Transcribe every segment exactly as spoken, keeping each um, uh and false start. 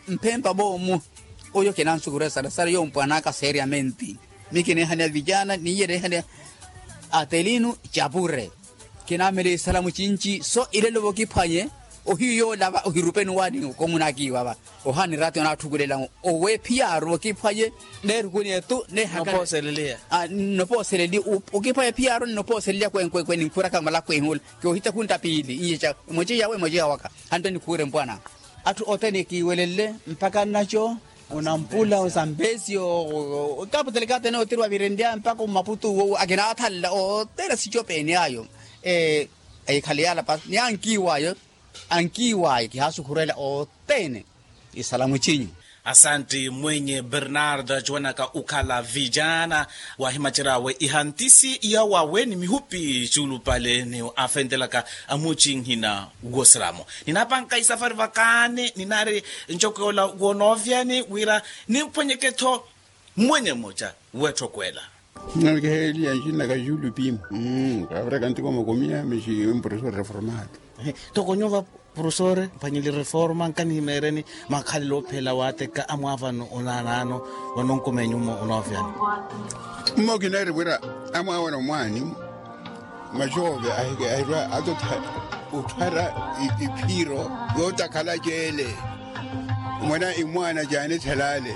Mphempa moomu. Oyo kinansukurya salasala yompwanaka seriamenti. Mi kineehaniya vijana niiye neehaniya atelinu. Capure kinaamele isalamu cinci so ilelo vokiphwanye. Ohiyu yoolava ohirupeni waani komunakiiwava. Ohaani rati onaathukulela owephiyaaru vokiphwanye neerukuni etu neehakale. Nopooseleliya. Nopooseleliya. Okiphwanye phiyaaru nopooseleliya kwenkwenkwe ninkhuraka malakwehi ula. Kiohita khunta piili iye ca emoce yawe emoce yawaka. Hanto nikhuwire mpwana. Atthu othene kiiwelelle mpakha nnaco onampula osampesi. Okaputelekatene othiri wavirenrya mpakha omaputu wo akinaathanla othene sicopeeni ayo. Ekhale yalapa ni ankiiwayo. Ankiiwayo kihaasukhurela othene. Isalamu cinyu. Asanti mwenye bernardo acuwanaka okhala vijana wahimaceryawe ihantisi yawawe ni mihupi cuulupale ni afentelaka amucinhina. Wosiramo ninapanka isafari vakaani ninaari ncoko yoola wonoovyani wira nimphwenyeke-tho. Mwenye mmoca weettokwela. Nalikeheeliya ncinaka julu pimu. Kaviraka ntiko makomiya mexi empresa reformado. Toko nyuva profesore mphwanyeli reforma nkanihimeereni makhalelo ophela waateka amwaavano onaanaano. Vanonkumenyu mmo onoovyani. Mmo kinaari wira amwaavano mwaani. Maxoove ahike ahirwa atotha otthwara iphiiro yootakhala ceele. Mwana imwaana caanithelale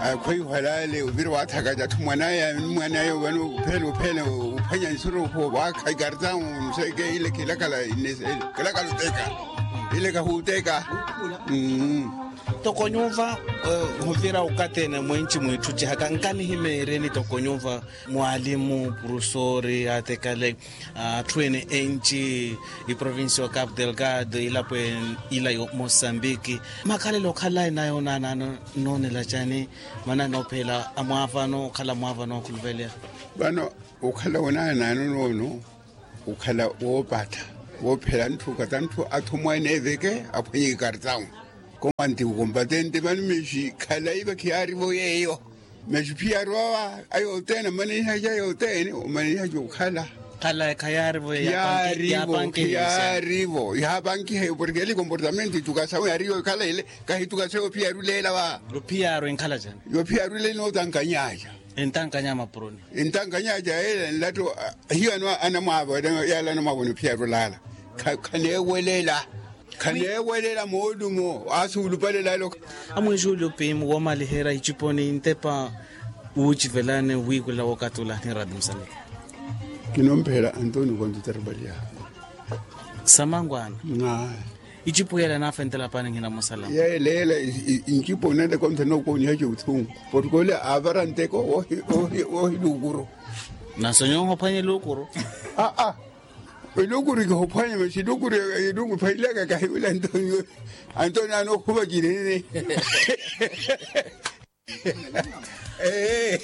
akhweiho alale ovira waathakaca atthu mwanaya ni mwanaya ovano ophela ophela ophwanya nsurukhu waakha ikartamu nseeke ile khilakhala. Khilakhala oteka ile kahuuteka. Toko nyuva ovira okathi ene mwinci mwiitthucihaka nkanihimeereni toko nyuva mwaalimu profesori atekale atthu ene enci iprovincia ya capu delgado ilapo ila ya mosambiki makhalelo okhala enayo onaanaano nnoonela cani? Maana noophela amwaavano okhala mwaavano okhulupeleya. Vano okhala onaanaano noono okhala woopattha woophela ntthu okathi ntthu atthu mwaene eveke aphwanye ikartamu. Komanti ukompatente vano mexi khalayi vakhiyaarivo yeeyo. Masi phiyaaru awa ayothene amaneihaca ayothene omaneihaca okhala. Khala khayaarivo yapankiha. Yaarivo yaapankiha porke ele comportamento itukasawe yaarivo ekhala ele. Kahitukasa yophiyaaru leela va. Yophiyaaru enkhala cani? Yophiyaaru leela nootankanyaaca. Entankanya mapuroni. Entankanyaaca ele nlatto. Hiyo ano anamwaavo yala anamwaavo nophiyaaru laala. Khaneewelela. Khaneewelela moolumo asuulupalela elo. Amwiixuuli opiimu woomaliherya iciponi ntepa wuucivelani wiikhula wookatula ni radi musani. Kinomphela antonio konto tarubaliya. Samangwaana. Icipu yela naafentela paani nhinamusala. Yeeleela ncipu nende konto nookooniha ciuthungu. Porke ole aavara nteko woohiluukuru. Nasonyonha ophwanya eluukuru. Aa. Elukuru kihophwanya masi elukuru elukuru phwailaka kahiwila antonio. Antonio anookhuva cinene. Ee.